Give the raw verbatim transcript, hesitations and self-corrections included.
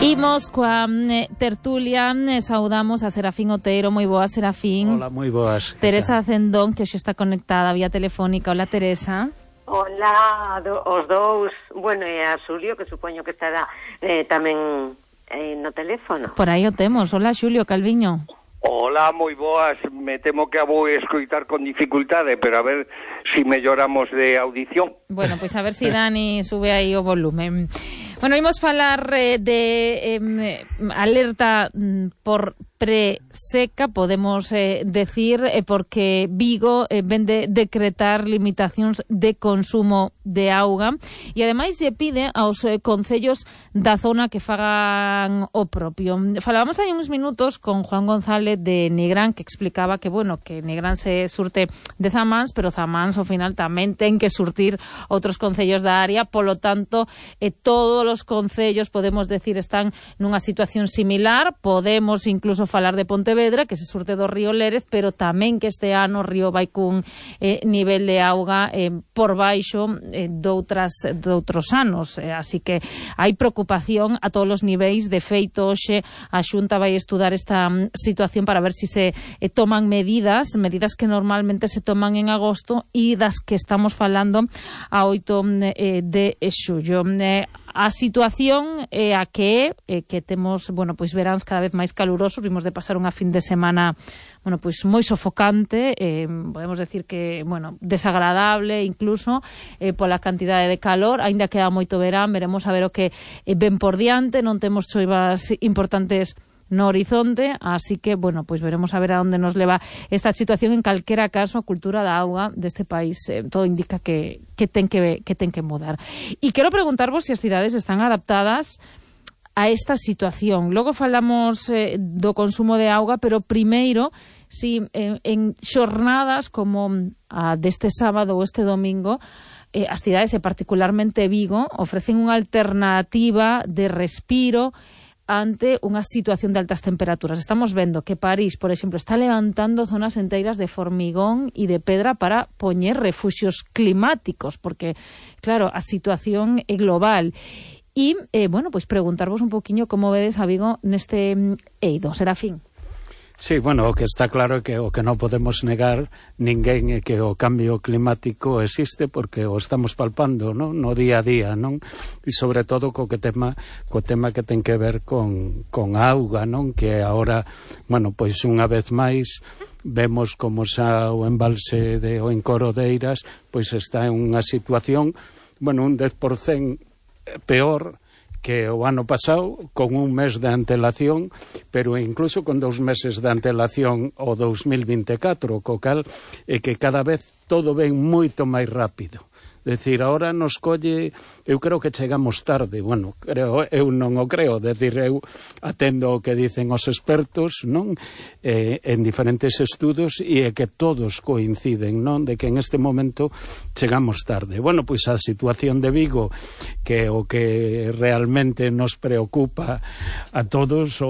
Imos coa eh, tertulia, eh, saudamos a Serafín Otero. Moi boas, Serafín. Hola, moi boas. Teresa Cendón, que hoxe está conectada vía telefónica. Hola, Teresa. Hola, do, os dous. Bueno, e a Xulio, que supoño que estará eh, tamén eh, no teléfono. Por aí o temos. Hola, Xulio Calviño. Hola, moi boas. Me temo que a vou escoitar con dificultade, pero a ver si melloramos de audición. Bueno, pois pues a ver si Dani sube aí o volumen. Bueno, imos falar eh, de eh, alerta por preseca, podemos eh, decir, eh, porque Vigo eh, vende decretar limitacións de consumo de auga e ademais se pide aos eh, concellos da zona que fagan o propio. Falábamos hai uns minutos con Juan González de Nigrán, que explicaba que, bueno, que Nigrán se surte de Zamáns, pero Zamáns ao final tamén ten que surtir outros concellos da área, polo tanto, eh, todos os concellos, podemos decir, están nunha situación similar. Podemos incluso falar de Pontevedra, que se surte do río Lérez, pero tamén que este ano o río vai cun eh, nivel de auga eh, por baixo eh, doutras, doutros anos, eh, así que hai preocupación a todos os niveis. De feito, hoxe a Xunta vai estudar esta um, situación para ver si se eh, toman medidas, medidas que normalmente se toman en agosto e das que estamos falando a oito eh, de xullo. Eh, A situación é a que é, que temos, bueno, pois veráns cada vez máis calurosos. Vimos de pasar unha fin de semana, bueno, pois moi sofocante, eh, podemos decir que, bueno, desagradable incluso, eh, pola cantidade de calor. Aínda queda moito verán, veremos a ver o que eh, ven por diante. Non temos choivas importantes no horizonte, así que, bueno, pois veremos a ver a onde nos leva esta situación. En calquera caso, a cultura da auga deste país eh, todo indica que, que, ten que, que ten que mudar. E quero preguntarvos se as cidades están adaptadas a esta situación. Logo falamos eh, do consumo de auga, pero primeiro, si eh, en xornadas como a deste sábado ou este domingo, eh, as cidades, e particularmente Vigo, ofrecen unha alternativa de respiro ante unha situación de altas temperaturas. Estamos vendo que París, por exemplo, está levantando zonas enteiras de formigón e de pedra para poñer refuxios climáticos, porque, claro, a situación é global. E, eh, bueno, pois preguntarvos un poquinho como vedes a Vigo neste eido. Serafín. Sí, bueno, o que está claro é que o que non podemos negar ninguén é que o cambio climático existe, porque o estamos palpando, non? No día a día, non? E sobre todo co que tema co tema que ten que ver con, con a auga, non? Que agora, bueno, pois unha vez máis vemos como xa o embalse de o Encorodeiras pois está en unha situación, bueno, un dez por cento peor que o ano pasado, con un mes de antelación, pero incluso con dous meses de antelación o dous mil vinte e catro, co cal é que cada vez todo ven moito máis rápido. Decir, ahora nos colle, eu creo que chegamos tarde, bueno, creo, eu non o creo, decir, eu atendo o que dicen os expertos, non? Eh, en diferentes estudos, e é que todos coinciden, non? De que en este momento chegamos tarde. Bueno, pois a situación de Vigo, que o que realmente nos preocupa a todos,